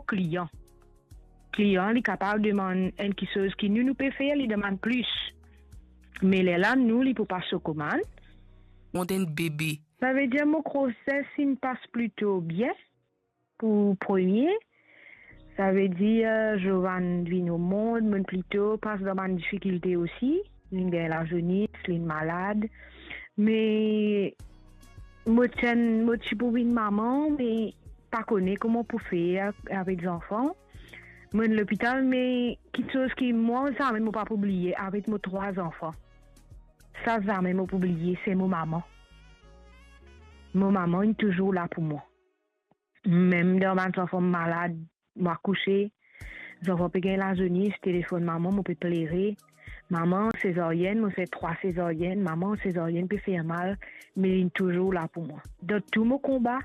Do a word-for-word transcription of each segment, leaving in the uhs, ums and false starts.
klian. Klian, li kapav demann enn kiksoz ki nou, nou pe fer, li demann plis. Me lerla nou, li pou pas so komann. Mont enn bebe. Savedir mo groses inn pas plito bien pou premie. Savedir, Jovan vinn o mond, mo'nn plito pas dan bann difikilte osi. Linn gagn lazounis, linn malad. Me mo ti enn, mo ti pou vinn mama, me pa kone kouma pou fer avek zanfan. Mo'nn lopital, me kiksoz ki mwa, zame mo pa pou bliye avek mo trwa zanfan. Sa zame mo pou bliye, se mo mama. Mo mama inn touzour la pou mwa. Mem dan bann zanfan malad, mo akouse, zanfan pe gagn lazounis, telefonn mama, mo pe plere. Mama, sezaryenn, mo fer trwa sezaryenn, mama, sezaryenn pe fer mal, me linn touzour la pou mwa. Dan tou mo konba,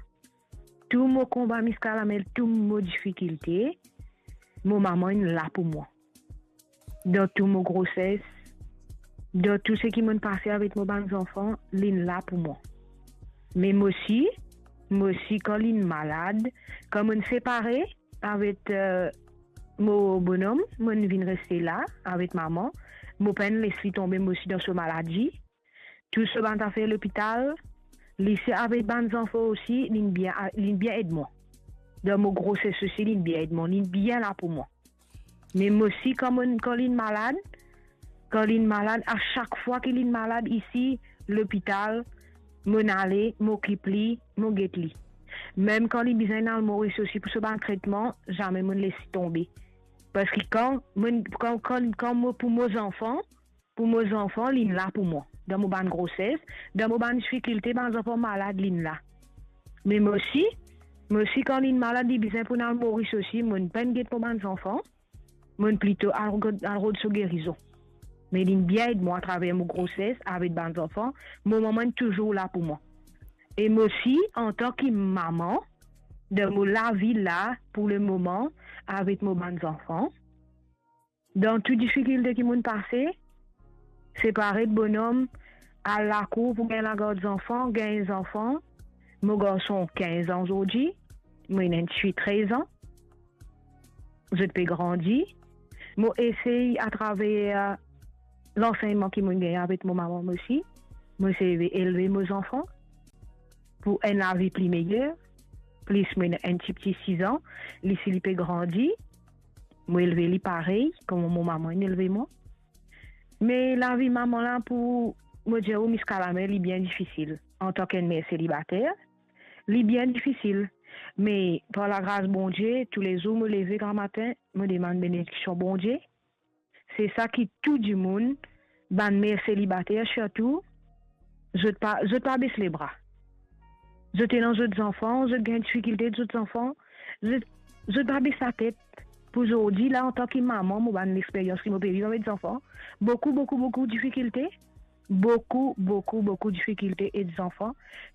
tou mo konba miskalamel, tou mo difikilte, mo mama inn la pou mwa. Dan tou mo groses, dan tou seki mo'nn pase avek mo bann zanfan, linn la pou mwa. Me mo osi, mo osi kan linn malad, kan mo'nn separe avek, eh, mo bonom, mo'nn vinn reste la avek mama, mo pa'nn les li tonbe mo osi dan so maladi. Tou so bann zafer lopital, li se avek bann zanfan osi, linn bien, linn bien ed mwa. Dan mo groses osi, linn bien ed mwa, linn bien la pou mwa. Me mo osi, kan mo'nn, kan linn malad, kan linn malad, a sak fwa ki linn malad isi, lopital, mo'nn ale, mo okip li, mo get li. Mem kan li bizin al Moris osi pou so bann tretman, zame mo'nn les li tonbe. Parski kan mo'nn, kan, kan, kan mo pou mo zanfan, pou mo zanfan, linn la pou mwa. Dan mo bann groses, dan mo bann difikilte, bann zanfan malad, linn la. Me mo osi, mo osi kan linn malad, li bizin pou al Moris osi, mo'nn pa'nn get mo bann zanfan, mo'nn plito al rod, al rod so gerizon. Me linn bien ed mwa atraver mo groses avek bann zanfan, mo mama inn touzour la pou mwa. E mo osi, antan ki mama, dan mo lavi la, pou lemoman, avek mo bann zanfan, dan tou difikilte ki mo'nn pase, separe de bonom, al lakour pou gagn lagard zanfan, gagn zanfan. Mo garson kinz an zordi, mo ena enn tifi trez an. Zot pe grandi. Mo esey atraver lansegnman ki mo'nn gagn avek mo mama mo osi, mo esey elve mo zanfan pou enn lavi pli meyer. Plis mo ena enn tipti sis an, li si li pe grandi, mo elve li parey kouma mo mama inn elve mwa. Me lavi mama la pou mo dir ou miskalamel, li bien difisil. Antan ki enn mer selibater, li bien difisil. Me par lagras Bondie, toulezour mo leve gramatin, mo demann benediksion Bondie. Se sa ki tou dimoun, bann mer selibater sirtou, zot pa, zot pa bes lebra. Zot ena zot zanfan, zot gagn difikilte zot zanfan, zot, zot pa bes latet. Pou zordi la, antan ki mama, mo bann lexperyans ki mo pe viv avek zanfan, boukou, boukou, boukou difikilte, boukou, boukou, boukou difikilte ed zanfan,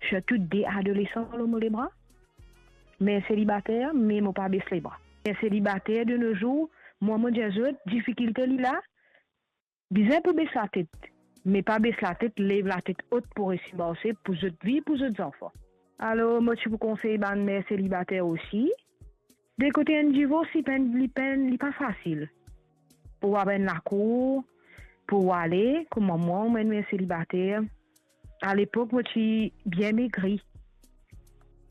sirtou de adolesan lor mo lebra. Mer selibater, me mo pa bes lebra. Mer selibater de no zour, mwa mo dir zot, difikilte li la, bizin pou bes latet, me pa bes latet, lev latet ot pou resi marse, pou zot vi, pou zot zanfan. Alor, mo ti pou konsey bann mer selibater osi, de kote enn divors, li pa enn, li pa enn, li pa fasil. Pou al enn lakour, pou ale, kouma mwa, mo enn mer selibater, alepok mo ti bien megri.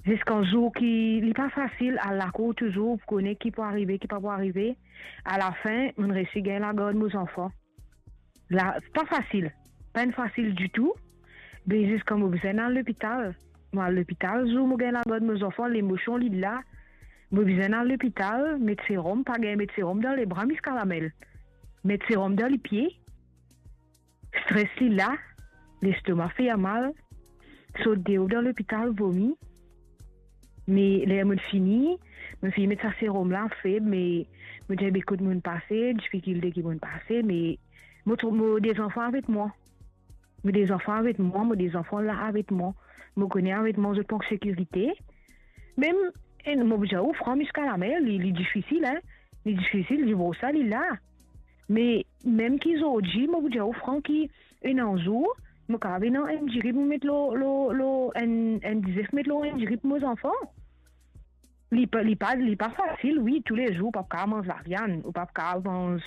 Ziska zour ki, li pa fasil al lakour touzour, pou kone ki pou arive, ki pa pou arive. Alafin, mo'nn resi gagn lagard mo zanfan. La, pa fasil, pa enn fasil ditou. Me ziska mo bizin al lopital. Mo al lopital, zour mo gagn lagard mo zanfan, lemosion li la. Mo bizin al lopital, met serom, pa gagn met serom dan lebra miskalamel. Met serom dan lipie. Stres li la, lestoma fer mal, sot deor dan lopital, vomi. Me ler mo'nn fini, mo'nn fini met sa serom la, feb, me mo dir, be kot mo'nn pase, difikilte ki mo'nn pase, me mo tro-, mo de zanfan avek mwa. Mo de zanfan avek mwa, mo de zanfan la avek mwa. Mo kone avek mwa, zot pou an sekirite. Mem, e, mo pou dir ou fran miskalamel, li, li difisil, hein. Li difisil, divors la, li la. Me mem ki zordi, mo pou dir ou fran ki ena zour, mo kapav ena enn diri pou met lor, lor, lor, enn, enn dizef met lor enn diri pou mo zanfan. Li pa, li pa, li pa fasil, wi, toulezour, ou pa kav manz laviann, ou pa kav manz